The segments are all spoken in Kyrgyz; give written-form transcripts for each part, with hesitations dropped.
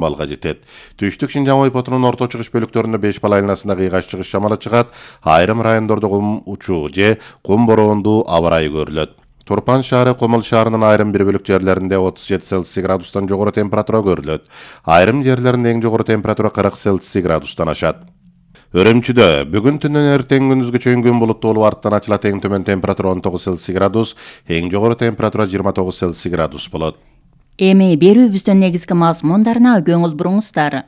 балга жетет. Түштүк Шинжаң ойпотунун орто чыгыш бөлүктөрүндө 5 бала айланасында кыйгаш чыгыш шамалы чыгат. Айрым райондордо кум учуу же кум бороондуу аба ырайы көрүлөт. Турпан шаары Комул шаарынын айрым бир бөлүк жерлеринде 37 Цельсий градустан жогору температура көрүлөт. Айрым жерлеринде эң жогору температура 40 Цельсий градустан ашат. Өрөмчүдө бүгүн түндөн эртең күндүзгө чейин күн булуттуу болуп арттан ачылат. Эң төмөн температура 19 Цельсий градус, эң жогору температура 29 Цельсий градус болот. Эми берүүбүздүн негизги мазмундарына көңүл буруңуздар.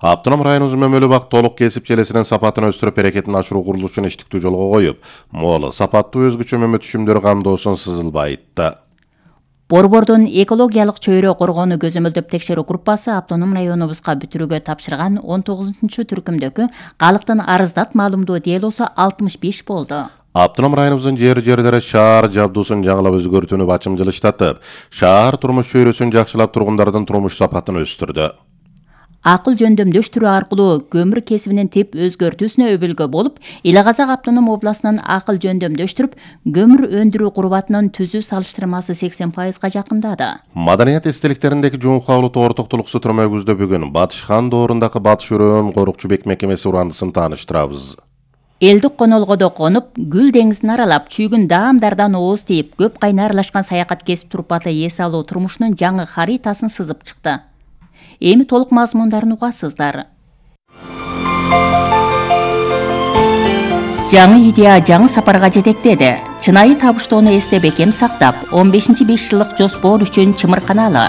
Автоном районубуз Мөмөлү бак толук кесип желесинин сапатын өстүрүп берекетин ашыруу курулушун иштиктүү жолго коюп, мол сапаттуу өзгөчө мөмө түшүмдөрү камдоосун сызылбай айтты. Борбордун экологиялык чөйрө коргоону көзөмөлдөп текшерүү группасы автоном районубузга бүтүрүүгө тапшырган 19-чу түркүмдөгү калктын арыздат маалымдоо делосу 65 болду. Автоном районубуздун жерлери шаар жабдуусун жаңылап өзгөртүүнү бачымчылыштатып, шаар турмуш чөйрөсүн жакшылап тургундардын турмуш сапатын өстүрдү. Акыл жөндөмдөштүрүү аркылуу көмүр кесибинин тип өзгөртүүсүнө өбөлгө болуп, Ил Казак автоном областынын акыл жөндөмдөштүрүп, көмүр өндүрүү курубатынын түзүү салыштырмасы 80%га жакындады. Маданият эстеликтериндеги жуун кабылуу тоортуктулуксу түрмөгүбүздө бүгүн Батыш хан доорундагы Батыш өрөөн корукчу бек мекемеси урандысын тааныштырабыз. Элдик конолгодо конуп, Гүл деңизин аралап, чүйгүн даамдардан ооз тийип, көп кайны аралашкан саякат кесип турпаты эс алуу турмушунун жаңы харитасын сызып чыкты. Эми толук мазмундарын угасыздар. Жаңы идея жаңы сапарга жетектеди. Чынайы табыштоону эсте бекем сактап, 15-5 жылдык жоспор үчүн чымырканалы.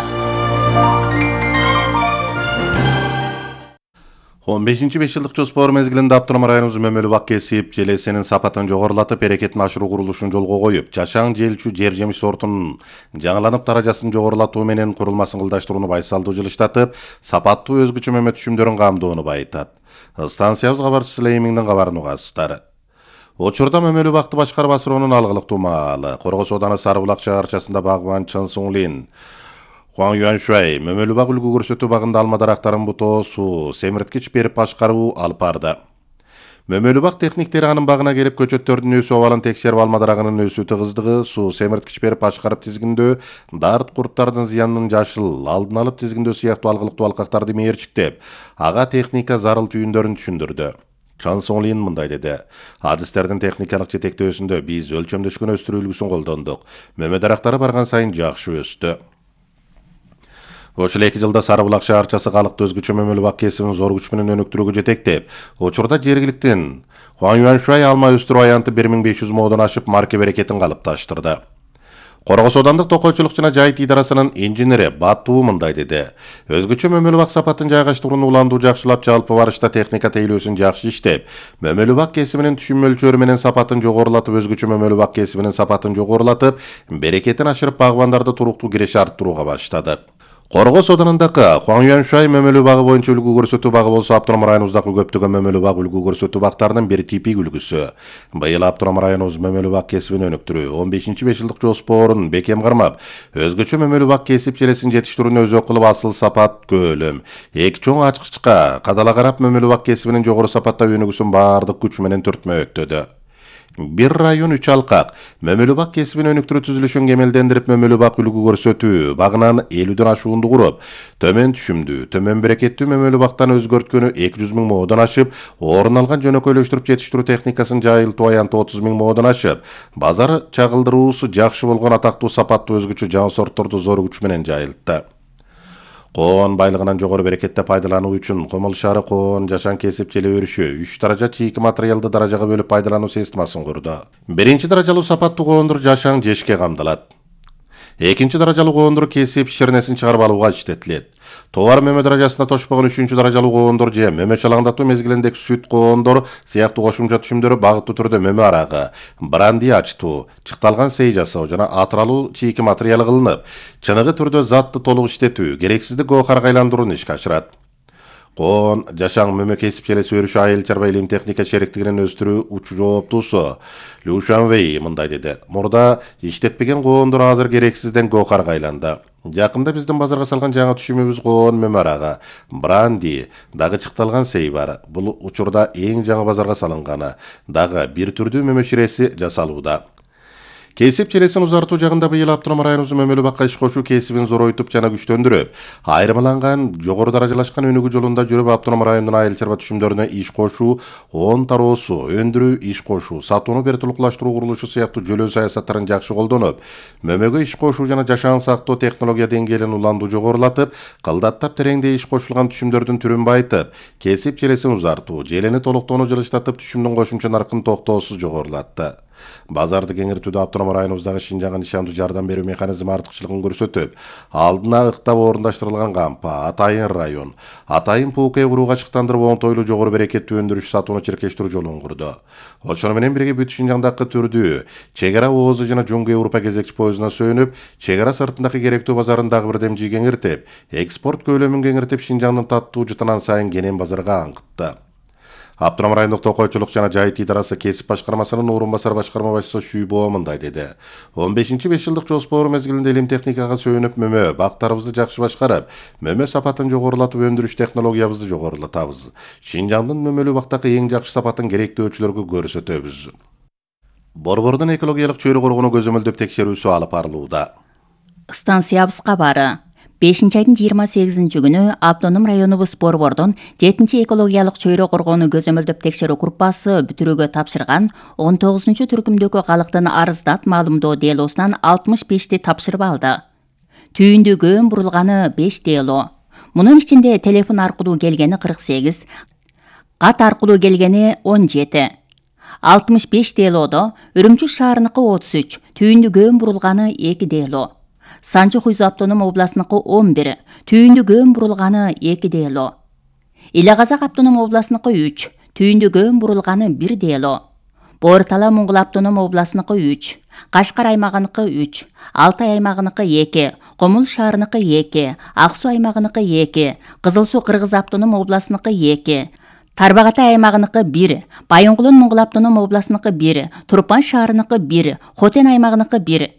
15-5 жылдык жоспор мезгилинде автоном районубуз Мөмөлү бак кесип желесинин сапатын жогорулатып, берекетин ашыруу курулушун жолго коюп, жашаң желчү жер жемиш сортунун жаңыланып даражасын жогорулатуу менен курулмасын кылдаштырууну байсалдуу жылыштатып, сапаттуу өзгөчө мөмө түшүмдөрүн камдоону байытат. Станциябыз кабарчысы Леймиңдин кабарын угасыздар. Учурда Мөмөлү бакты башкарып асыроонун алгылыктуу маалы Коргос ооданы Сарыбулак шаарчасында багбан Чын Суңлин Хуан Юаншуай Мөмөлү бак үлгү көрсөтүү багында алма дарактарын бутоосу, семирткич берип башкаруу алып барды. Мөмөлү бак техниктери анын багына келип көчөттөрдүн өсүү абалын текшерип, алма дарагынын өсүү тыгыздыгы, суу, семирткич берип башкарып тизгиндөө, дарт курттардын зыянын жашыл, алдын алып тизгиндөө сыяктуу алгылыктуу алкактарды мээрчиктеп, ага техника зарыл түйүндөрүн түшүндүрдү. Чан Соңлин мындай деди: Адистердин техникалык жетектөөсүндө биз өлчөмдөшкөн өстүрүү үлгүсүн колдондук. Мөмө дарактары барган сайын жакшы өстү. Ошол 2 жылда Сарыбулак шаарчасы калкты өзгөчө Мөмөлү бак кесибин зор күч менен өнүктүрүүгө жетектеп, учурда жергиликтин Хуан Юаншуай алма өстүрүү аянты 1500 модон ашып, марке берекетин калыпташтырды. Коргос оодандык токойчулук жана жайыт идарасынын инженери Батуу мындай деди: Өзгөчө Мөмөлү бак сапатын жайгаштырууну уландуу жакшылап, жалпы барышта техника тейлөөсүн жакшы иштеп, Мөмөлү бак кесибинин түшүм мөлчөрү менен сапатын жогорулатып, өзгөчө Мөмөлү бак кесибинин сапатын жогорулатып, берекетин ашырып, багбандарды туруктуу киреше арттырууга баштады. Коргос оодунундагы Хуан Юаншуай Мөмөлү багы боюнча үлгү көрсөтүү багы болсо, автоном районубуздагы көптөгөн Мөмөлү бак үлгү көрсөтүү бактарынын бир типик үлгүсү. Быйыл автоном районубуз Мөмөлү бак кесибин өнүктүрүү 15-5 жылдык жоспорун бекем кармап, өзгөчө Мөмөлү бак кесип желесин жетиштирүүнү өзөк кылып, асыл сапат көлөм, эки чоң ачкычка кадала карап, Мөмөлү бак кесибинин жогору сапаттап өнүгүүсүн баардык күч менен түртмөктөдү. Бир район 3 алкак Мөмөлү бак кесибин өнүктүрүү түзүлүшүн кемелдендирип, Мөмөлү бак үлгү көрсөтүү багынан 50дөн ашуунду куруп, төмөн түшүмдүү, төмөн берекеттүү Мөмөлү бактан өзгөрткөнү 200 000 модон ашып, орун алган жөнөкөйлөштүрүп жетиштирүү техникасын жайылтуу аянты 30 000 модон ашып, базар чагылдыруусу жакшы болгон атактуу сапаттуу өзгөчө жаңы сортторду зор күч менен жайылтты. Коон байлыгынан жогору берекетте пайдалануу үчүн Комул шаары коон жашаң кесип желе өрүшү 3 даража чийки материалды даражага бөлүп пайдалануу системасын курду. Биринчи даражалуу сапаттуу коондур жашаң жешке камдалат. Экинчи даражалуу коондур кесип ширнесин чыгарып алууга иштетилет. Товар мөмө даражасына тошпогон 3-чү даражалуу коондур же мөмө чалаңдатуу мезгилиндеги сүт коондур сыяктуу кошумча түшүмдөрү багыттуу түрдө мөмө арагы, бранди ачтуу, чыкталган сей жасоо жана атыралуу чийки материалы кылынып, чыныгы түрдө затты толук иштетүү, керексиздик гоохарга айландырууну ишке ашырат. Коон жашаң мөмө кесип желеси өрүшү айыл чарба илим техника шериктигинин өстүрүү учу жооптуусу Лю Шанвей мындай деди: Мурда иштетпеген коондур азыр керексизден гоохарга айланды. Жакында биздин базарга салган жаңы түшүмүбүз коон мөмө арагы, бранди, дагы чыкталган сей бар. Бул учурда эң жаңы базарга салынганы, дагы бир түрдүү мөмө ширеси жасалууда. Кесип желесин узартуу жагында быйыл автоном районубуздун мөмөлүү бакка иш кошуу кесибин зоройтуп жана күчтөндүрүп, айырмаланган жогору даражалашкан өнүгүү жолунда жүрүп автоном райондун айыл чарба түшүмдөрүнө иш кошуу, он тароосу, өндүрүү, иш кошуу, сатууну вертулукташтыруу курулушу сыяктуу жөлөө саясаттарын жакшы колдонуп, мөмөгө иш кошуу жана жашаан сактоо технология деңгээлин уланду жогорулатып, кылдаттап тереңдей иш кошулган түшүмдөрдүн түрүн байытып, кесип желесин узартуу, желени толуктоону жылыштатып, түшүмдүн кошумча наркын токтоосуз жогорулатты. Базарды кеңейтүүдө автоном районубуздагы Шинжаңга нишандуу жардам берүү механизми артыкчылыгын көрсөтүп, алдына ыктап орундаштырылган кампа, атайын район, атайын ПУК курууга чыктандырып оңтойлуу жогору берекеттүү өндүрүш сатууну чиркештирүү жолун курду. Ошону менен бирге бүт Шинжаңдагы түрдүү чек ара ООЗ жана Жуңгу Европа кезекчи поездуна сөнүп, чек ара сыртындагы керектүү базарын дагы бир демжи кеңиртип, экспорт көлөмүн кеңиртип, Шинжаңдын таттуу жытынан сайын кенен базарга аңкытты. Автоном райондук токойчулук жана жайыт идарасы кесип башкармасынын орун басар башкарма башчысы Шүйбоо мындай деди. 15-5 жылдык жоспор мезгилинде илим техникага сүйүнүп мөмө бактарыбызды жакшы башкарып, мөмө сапатын жогорулатып өндүрүш технологиябызды жогорулатабыз. Шинжаңдын мөмөлүү бактагы эң жакшы сапатын керектөөчүлөргө көрсөтөбүз. Борбордун экологиялык чөйрө коргонуу көзөмөлдөп текшерүүсү алып барылууда. Станциябыз кабары 5-айдын 28-нчи күнү автоном районубуз Борбордун 7-чи экологиялык чөйрө коргоону көзөмөлдөп текшерүү группасы бүтүрүүгө тапшырган 19-чу түркүмдөгү калктын арыздат маалымдоо делосунан 65ти тапшырып алды. Түйүндү көөн бурулганы 5 дело. Мунун ичинде телефон аркылуу келгени 48, кат аркылуу келгени 17. 65 делодо Үрүмчү шаарыныкы 33, түйүндү көөн бурулганы 2 дело. Санчы Хуйзу автоном областыныкы 11, түйүндү көөн бурулганы 2 дело. Иле Казак автоном областыныкы 3, түйүндү көөн бурулганы 1 дело. Боор Тала Моңгол автоном областыныкы 3, Кашкар аймагыныкы 3, Алтай аймагыныкы 2, Комул шаарыныкы 2, Ак Суу аймагыныкы 2, Кызыл Суу Кыргыз автоном областыныкы 2, Тарбагатай аймагыныкы 1, Байоңгулун Моңгол автоном областыныкы 1, Турпан шаарыныкы 1, Хотен аймагыныкы 1.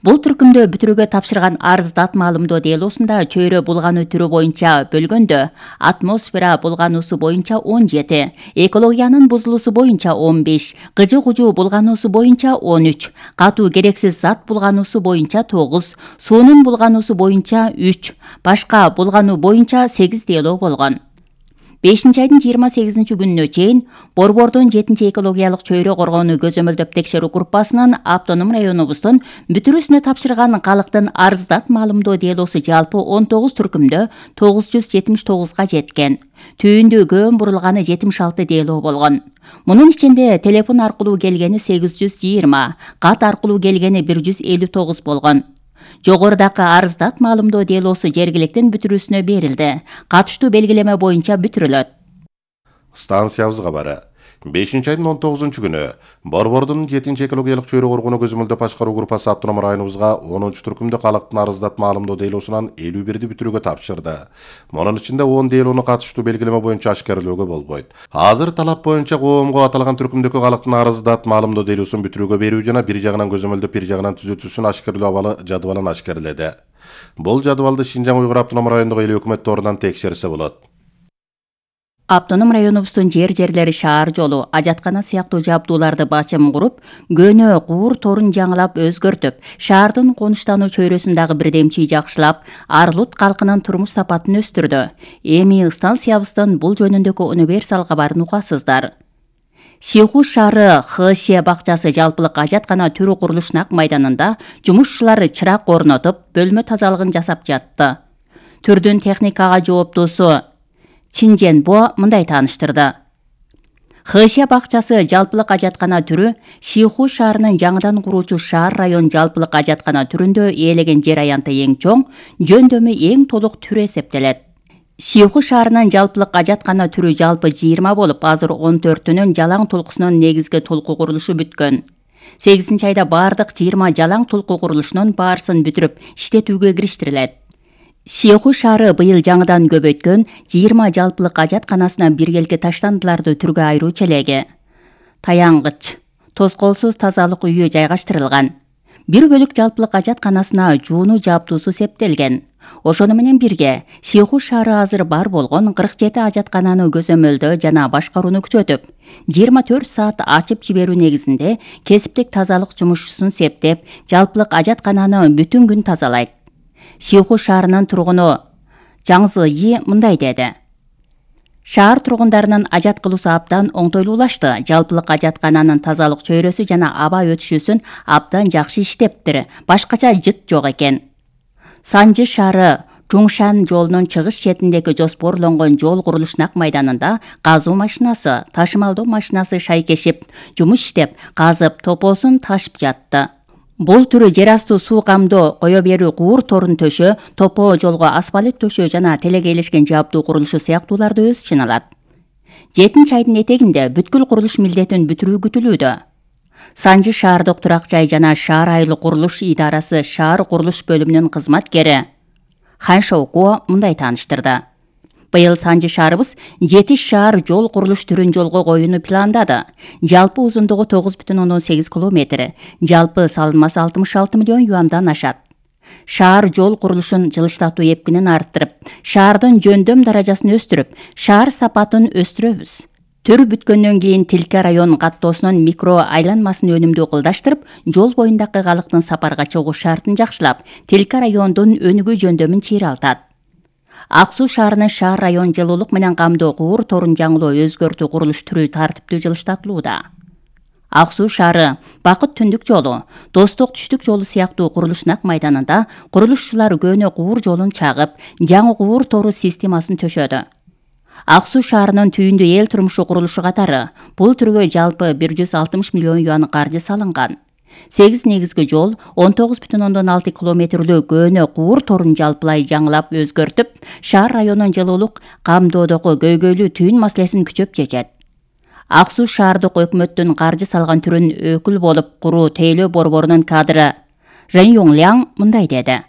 Бул түркүмдө бүтүрүүгө тапшырган арыздат маалымдоо делосунда чөйрө булгануу түрү боюнча бөлгөндө атмосфера булгануусу боюнча 17, экологиянын бузулуусу боюнча 15, кыжы-кужу булгануусу боюнча 13, катуу керексиз зат булгануусу боюнча 9, суунун булгануусу боюнча 3, башка булгануу боюнча 8 дело болгон. 5-айдын 28-нчи күнүнө чейин Борбордун 7-чи экологиялык чөйрө коргоону көзөмөлдөп текшерүү группасынын автоном районубуздун бүтүрүүсүнө тапшырган калктын арыздат маалымдоо делосу жалпы 19 түркүмдө 979га жеткен. Түйүндү көөн бурулганы 76 дело болгон. Мунун ичинде телефон аркылуу келгени 820, кат аркылуу келгени 159 болгон. Жогорудагы арыздат маалымдоо делосу жергиликтин бүтүрүүсүнө берилди. Катыштуу белгилеме боюнча бүтүрүлөт. Станциябыз кабары 5-айдын 19-чу күнү Борбордун 7-чи экологиялык чөйрө коргоону көзөмөлдөп башкаруу группасы автоном районубузга 10-чу түркүмдө калктын арыздат маалымдоо делосунан 51ди бүтүрүүгө тапшырды. Мунун ичинде 10 делону катыштуу белгилеме боюнча ашкерлөөгө болбойт. Азыр талап боюнча коомго аталган түркүмдөгү калктын арыздат маалымдоо делосун бүтүрүүгө берүү жана бир жагынан көзөмөлдөп бир жагынан түзөтүүсүн ашкерлөө абалы жадыбалын ашкерледи. Бул жадыбалды Шинжаң Уйгур автоном райондук эл өкмөт торунан текшерсе болот. Автоном районубуздун жерлери шаар жолу, ажаткана сыяктуу жабдууларды бачым куруп, көнө куур торун жаңылап өзгөртүп, шаардын конуштануу чөйрөсүн дагы бирдемчи жакшылап, Арлут калкынын турмуш сапатын өстүрдү. Эми станциябыздын бул жөнүндөгү универсал кабарын угасыздар. Шиху шаары ХШ бакчасы жалпылык ажаткана түрү курулуш нак майданында жумушчулар чырак орнотуп, бөлмө тазалыгын жасап жатты. Түрдүн техникага жооптуусу Чинженбо мындай тааныштырды. ХШ бакчасы жалпылык ажаткана түрү Шиху шаарынын жаңыдан куруучу шаар район жалпылык ажаткана түрүндө ээлеген жер аянты эң чоң, жөндөмү эң толук түрү эсептелет. Шиху шаарынын жалпылык ажаткана түрү жалпы 20 болуп, азыр 14-үнүн жалаң толкусунун негизги толку курулушу бүткөн. 8-айда бардык 20 жалаң толку курулушунун баарысын бүтүрүп, иштетүүгө кириштирилет. Шиху шаары быйыл жаңыдан көбөйткөн 20 жалпылык ажатканасына биргелки таштандыларды түргө айыруу челеги. Таянгыч, тоскоолсуз тазалык үйү жайгаштырылган. 1 бөлүк жалпылык ажатканасына жууну жабдуусу септелген. Ошону менен бирге Сиху шаары азыр бар болгон 47 ажаткананы көзөмөлдөө жана башкарууну күчөтүп, 24 саат ачып жиберүү негизинде кесиптик тазалык жумушчусун септеп, жалпылык ажаткананы бүтүн күн тазалайт. Сиху шаарынын тургуну Жаңзы Yi мындай деди. Шаар тургундарынын ажат кылуусу абдан оңтойлуулашты. Жалпылык ажаткананын тазалык чөйрөсү жана аба өтүшүүсүн абдан жакшы иштептир. Башкача жыт жок экен. Санжы шаары Чуңшан жолунун чыгыш четиндеги жоспорлонгон жол курулуш нак майданында казуу машинасы, ташымалдоо машинасы шайкешип, жумуш иштеп, казып, топосун ташып жатты. Бул түрү жер асты суу камдоо, кое берүү куур торун төшөө, топо жолго асфальт төшөө жана телегейлешкен жабдуу курулушу сыяктууларды өз ичине алат. 7 айдын этегинде бүткүл курулуш милдетин бүтүрүү күтүлүүдө. Санжы шаардык турак жай жана шаар айылы курулуш идарасы шаар курулуш бөлүмүнүн кызматкери Хан Шоуко мындай тааныштырды. Быйыл Санжы шаарыбыз 7 шаар жол курулуш түрүн жолго коюуну пландады. Жалпы узундугу 9,8 километр, жалпы салынмасы 66 миллион юандан ашат. Шаар жол курулушун жылыштатуу эпкинин арттырып, шаардын жөндөм даражасын өстүрүп, шаар сапатын өстүрөбүз. Төр бүткөндөн кийин Тилке район каттоосунун микро айланмасын өнүмдүү кылдаштырып, жол боюндагы калктын сапарга чыгуу шартын жакшылап, Тилке райондун өнүгүү жөндөмүн чыйралтат. Ак Суу шаарынын шаар район жылуулук менен камдоо куур торун жаңылоо өзгөртүү курулуш түрү тартиптүү жылыштатылууда. Ак Суу шаары Бакыт түндүк жолу, Достук түштүк жолу сыяктуу курулуш нак майданында курулушчулар көөнө куур жолун чагып, жаңы куур тору системасын төшөдү. Ак Суу шаарынын түйүндүү эл турмушу курулушу катары бул түргө жалпы 160 миллион юан каржы салынган. 8 негизги жол, 19,6 километрлүү көөнө куур торун жалпылай жаңылап өзгөртүп, шаар районунун жылуулук камдоодогу көйгөйлүү түйүн маселесин күчөп чечет. Ак Суу шаардык өкмөттүн каржы салган түрүн өкүл болуп куруу тейлөө борборунун кадры Рен Юңляң мындай деди.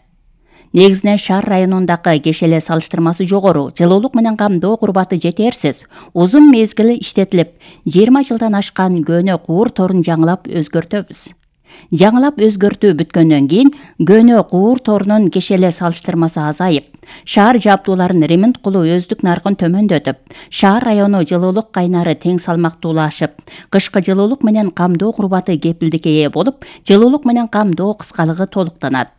Негизинен шаар районундагы кешеле салыштырмасы жогору, жылуулук менен камдоо курбаты жетерсиз, узун мезгил иштетилип, 20 жылдан ашкан көөнө куур торун жаңылап өзгөртөбүз. Жаңылап өзгөртүү бүткөндөн кийин көөнө куур торунун кешеле салыштырмасы азайып, шаар жабдууларын ремонт кылуу өздүк наркын төмөндөтүп, шаар району жылуулук кайнары тең салмактуулашып, кышкы жылуулук менен камдоо курбаты кепилдикке ээ болуп, жылуулук менен камдоо кыскалыгы толуктанат.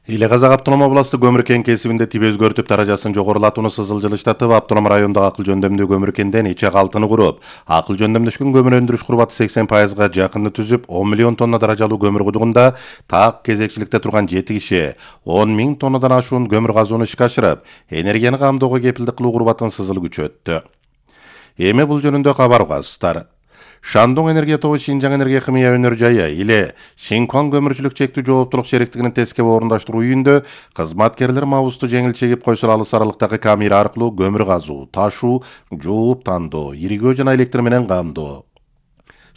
Иле Казак автоном областы көмүр кен кесибинде тип өзгөртүп даражасын жогорулатууну сызыл жылыштатып, автоном райондогу акыл жөндөмдүү көмүр кенден иче калтыны куруп, акыл жөндөмдөшкөн көмүр өндүрүш курбаты 80%га жакынды түзүп, 10 миллион тонна даражалуу көмүр кудугунда так кезекчиликте турган 7 киши 10 миң тоннадан ашуун көмүр казууну ишке ашырып, энергияны камдоого кепилдик кылуу курбатын сызыл күчөттү. Эми бул жөнүндө кабар угасыздар. Шандун энергия тобу Шинжаң энергия химия өнөр жайы иле Шинкуан көмүрчүлүк чектүү жооптулук шериктигинин тескеп орундаштыруу үйүндө кызматкерлер мабузду жеңил чегип койсо алыс аралыктагы камера аркылуу көмүр казуу, ташуу, жууп тандоо, иригөө жана электр менен камдоо,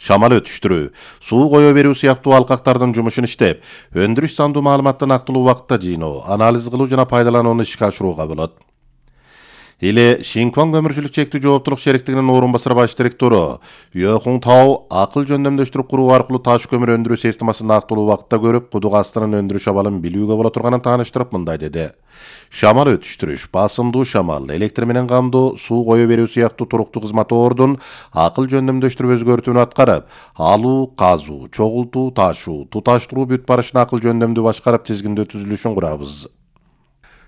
шамал өтүштүрүү, суу кое берүү сыяктуу алкактардын жумушун иштеп, өндүрүш сандуу маалыматты нактылуу убакытта жыйноо, анализ кылуу жана пайдаланууну ишке ашырууга болот. Иле Шинкуан көмүрчүлүк чектүү жооптулук шериктигинин орун басар баш директору Йохун Тау акыл жөндөмдөштүрүп куруу аркылуу таш көмүр өндүрүү системасын нактылуу убакытта көрүп, кудук астынын өндүрүш абалын билүүгө боло турганын тааныштырып мындай деди. Шамал өтүштүрүш, басымдуу шамал, электр менен камдоо, суу кое берүү сыяктуу туруктуу кызматордун акыл жөндөмдөштүрүп өзгөртүүнү аткарып, алуу, казуу, чогултуу, ташуу, туташтыруу бүт барышын акыл жөндөмдүү башкарып тизгиндөө түзүлүшүн курабыз.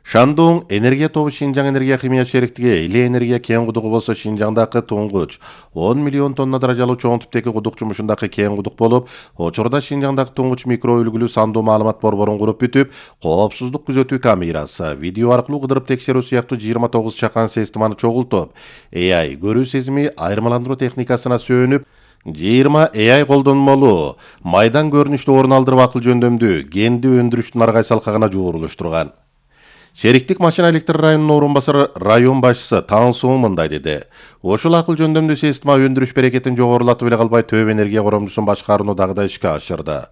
Шандун энергия тобу Шинжаң энергия химия шериктиги иле энергия кен кудугу болсо Шинжаңдагы туңгуч 10 миллион тонна даражалуу чоң типтеги кудук жумушундагы кен кудук болуп, учурда Шинжаңдагы туңгуч микро үлгүлүү сандуу маалымат борборун куруп бүтүп, коопсуздук күзөтүү камерасы, видео аркылуу кыдырып текшерүү сыяктуу 29 чакан системаны чогултуп, AI көрүү сезими айырмаландыруу техникасына сөөнүп, 20 AI колдонмолу майдан көрүнүштү орун алдырып акыл жөндөмдүү кенди өндүрүштүн аргай салкагына жуурулуштурган. Шериктик машина электр районунун орун басары район башчысы Тансуу мындай деди. Ошол акыл жөндөмдүү система өндүрүш берекетин жогорулатып эле калбай төп энергия коромчусун башкарууну дагы да ишке ашырды.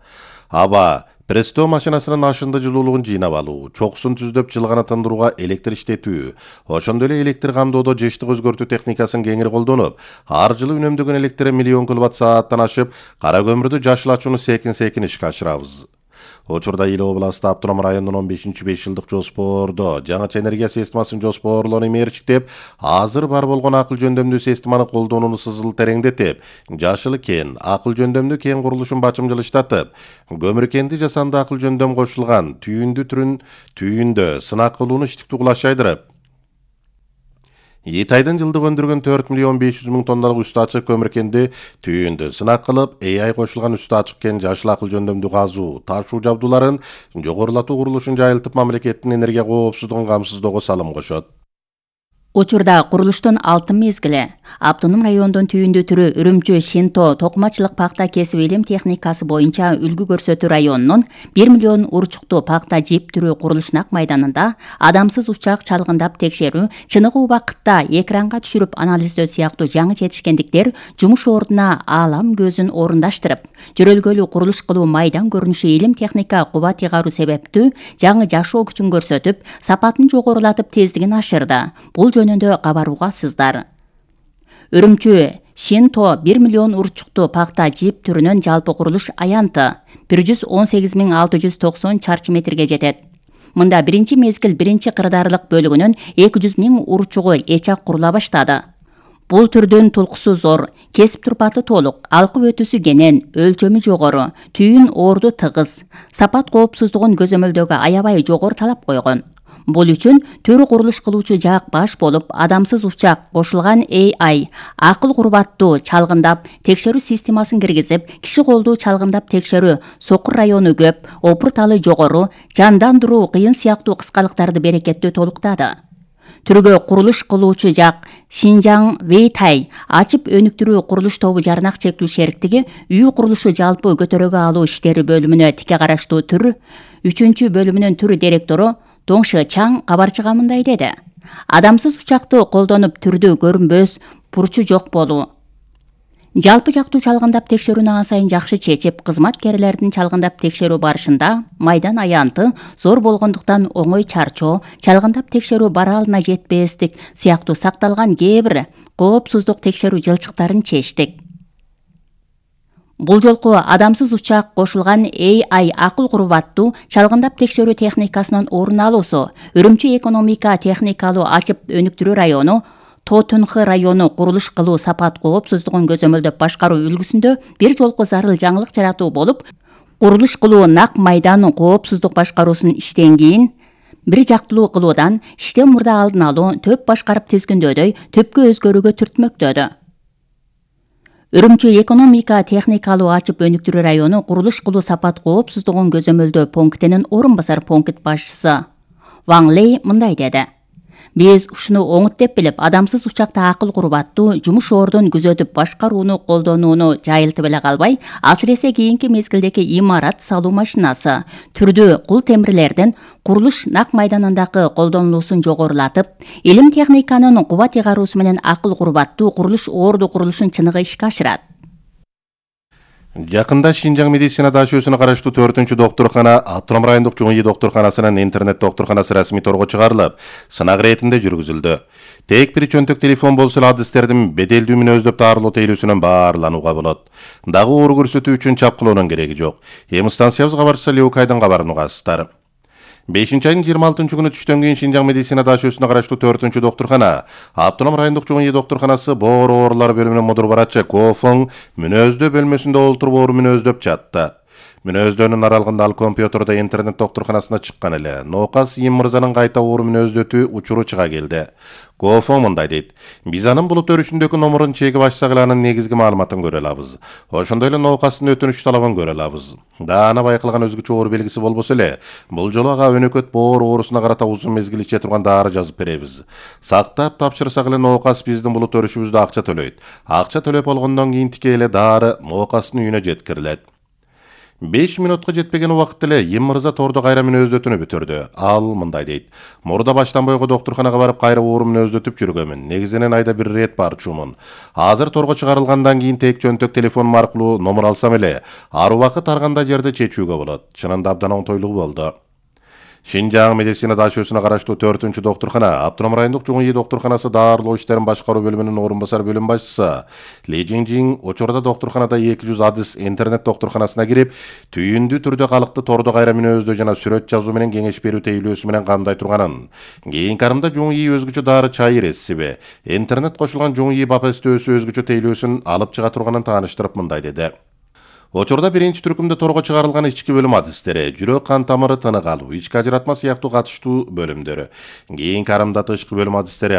Аба Пресстөө машинасынын ашынды жылуулугун жыйнап алуу, чокусун түздөп жылгана тындырууга электр иштетүү, ошондой эле электр камдоодо жыштык өзгөртүү техникасын кеңири колдонуп, ар жылы үнөмдөгөн электр миллион киловатт-сааттан ашып, кара көмүрдү жашыл ачууну секин ишке ашырабыз. Учурда Ил областы автоном районунун 15-5 жылдык жоспордо жаңыча энергия системасын жоспорлоону мерчиктеп, азыр бар болгон акыл жөндөмдүү системаны колдонууну сызыл тереңдетип, жашыл кен, акыл жөндөмдүү кен курулушун бачымжылыштатып, көмүркенди жасанды акыл жөндөм кошулган түйүндө сынак кылууну иштиктүү кылаш жайдырып, Итайдын жылдык өндүргөн 4 миллион 500 миң тонналык үстү ачык көмүркенди түйүндө сынак кылып, AI кошулган үстү ачык кен жашыл акыл жөндөмдүү казуу, ташуу жабдууларын жогорулатуу курулушун жайылтып, мамлекеттин энергия коопсуздугун камсыздоого салым кошот. Учурда курулуштун алтын мезгили автоном райондун түйүндүү түрү Үрүмчү Шинто токумачылык пакта кесип илим техникасы боюнча үлгү көрсөтүү районунун 1 миллион урчуктуу пакта жип түрү курулуш нак майданында адамсыз учак чалгындап текшерүү, чыныгы убакытта экранга түшүрүп анализдөө сыяктуу жаңы жетишкендиктер жумуш ордуна аалам көзүн орундаштырып, жөрөлгөлүү курулуш кылуу майдан көрүнүшү илим техника кубат ыйгаруу себептүү жаңы жашоо күчүн көрсөтүп, сапатын жогорулатып, тездигин ашырды. Бул жөнүндө кабаруугасыздар. Үрүмчү Шинто 1 миллион урчуктуу пакта жип түрүнүн жалпы курулуш аянты 118.690 чарчы метрге жетет. Мында биринчи мезгил биринчи кырдаарлык бөлүгүнүн 200 миң урчугу эчак курула баштады. Бул түрдүн тулкусу зор, кесип турпаты толук, алкып өтүүсү кенен, өлчөмү жогору, түйүн орду тыгыз, сапат коопсуздугун көзөмөлдөөгө аябай жогору талап койгон. Бул үчүн төрү курулуш кылуучу жак баш болуп, адамсыз учак кошулган AI акыл курбаттуу чалгындап текшерүү системасын киргизип, киши колдуу чалгындап текшерүү, сокур району көп, опурталы жогору, жандандыруу кыйын сыяктуу кыскалыктарды берекеттүү толуктады. Түргө курулуш кылуучу жак Шинжаң Вейтай ачып өнүктүрүү курулуш тобу жарнак чектүү шериктиги үй курулушу жалпы көтөрөгө алуу иштери бөлүмүнө тике караштуу түр 3 бөлүмүнүн түр директору Доңшы Чаң кабарчыга мындай деди. Адамсыз учакты колдонуп түрдү көрүнбөс, бурчу жок болуу. Жалпы жактуу чалгындап текшерүүнү ан сайын жакшы чечип, кызматкерлердин чалгындап текшерүү барышында майдан аянты зор болгондуктан оңой чарчоо, чалгындап текшерүү бараалына жетпестик сыяктуу сакталган кээ бир коопсуздук текшерүү жылчыктарын чечтик. Бул жолку адамсыз учак кошулган AI акыл курбаттуу чалгындап текшерүү техникасынын орун алуусу Үрүмчү экономика техникалуу ачып өнүктүрүү району, Тотунхы району курулуш кылуу сапат коопсуздугун көзөмөлдөп башкаруу үлгүсүндө бир жолку зарыл жаңылык жаратуу болуп, курулуш кылуу нак майданын коопсуздук башкаруусун иштен кийин бир жактылуу кылуудан иштен мурда алдын алуу, төп башкарып тизгиндөөдөй түпкү өзгөрүүгө түртмөктөдү. Үрүмчү экономика техникалуу ачып өнүктүрүү району курулуш кылуу сапат коопсуздугун көзөмөлдөө пунктинин орун басар пункт башчысы Ваң Лей мындай деди. Биз ушуну оңут деп билип, адамсыз учакта акыл курбаттуу жумуш ордун күзөтүп башкарууну колдонууну жайылтып эле калбай, асыресе кийинки мезгилдеги имарат салуу машинасы, түрдүү кул темирлердин курулуш нак майданындагы колдонулуусун жогорулатып, илим техниканын кубат ыйгаруусу менен акыл курбаттуу курулуш орду курулушун чыныгы ишке ашырат. Жакында Шинжаң медицина дашөөсүнө караштуу 4-чү доктуркана Автоном райондук ЖУИ доктурканасынын интернет доктурканасы расмий торго чыгарылып, сынак иретинде жүргүзүлдү. Тек бир чөнтөк телефон болсо эле адистердин беделдүү мүнөздөп таарылуу тейлүүсүнөн баарланууга болот. Дагы оору көрсөтүү үчүн чапкылоонун кереги жок. Эми станциябыз кабарчысы Леукайдын кабарын угасыздар. 5-айдын 26 күнү түштөн кийин Шинжаң медицина дашөөсүнө караштуу 4-чү доктуркана Автоном райондук ЖУИ доктурканасы боор оорулар бөлүмүнүн мудур барачы Кофоң мүнөздөө бөлмөсүндө олтуруп оору мүнөздөп жатты. Мүнөздөөнүн аралыгында ал компьютерде интернет доктурканасына чыккан эле. Ноокас Им мырзанын кайта оору мүнөздөтүү учуру чыга келди. Кофоң мындай дейт. Биз анын булут өрүшүндөгү номерун чегип ачсак эле анын негизги маалыматын көрө алабыз. Ошондой эле ноокастын өтүнүч талабын көрө алабыз. Даана байкалган өзгөчө оору белгиси болбосо эле, бул жолу ага өнөкөт боор оорусуна карата узун мезгил иче турган дары жазып беребиз. Сактап тапшырсак эле ноокас биздин булут өрүшүбүздө акча төлөйт. Акча төлөп болгондон кийин тике эле дары ноокастын үйүнө жеткирилет. 5 минутка жетпеген убакытта эле Им мырза торду кайра мүнөздөтүүнү бүтүрдү. Ал мындай дейт: Мурда баштан бойго доктурканага барып кайра оор мүнөздөтүп жүргөмүн. Негизинен айда бир ирет барчумун. Азыр торго чыгарылгандан кийин тек жөнтөк телефонум аркылуу номер алсам эле, ар убакыт ар кандай жерде чечүүгө болот. Чынында абдан оңтойлугу болду. Шинжаң медицина дашөөсүнө караштуу 4-чү доктуркана Автоном райондук Жуң ИИ доктурканасы даарылоо иштерин башкаруу бөлүмүнүн орун басар бөлүм башчысы Ли Жиңжиң учурда доктурканада 200 адыс интернет доктурканасына кирип, түйүндүү түрдө калыкты тордо кайра мүнөздөө жана сүрөт жазуу менен кеңеш берүү тейлөөсү менен кандай турганын, кийинки арымда Жуң ИИ өзгөчө дары чайыр рецепти, интернет кошулган Жуң ИИ бапестөөсү өзгөчө тейлөөсүн алып чыга турганын тааныштырып мындай деди: Учурда биринчи түркүмдө торго чыгарылган ички бөлүм адистери, жүрөк кан тамыры тынык алуу, ички ажыратма сыяктуу катыштуу бөлүмдөрү, кийинки арымда тышкы бөлүм адистери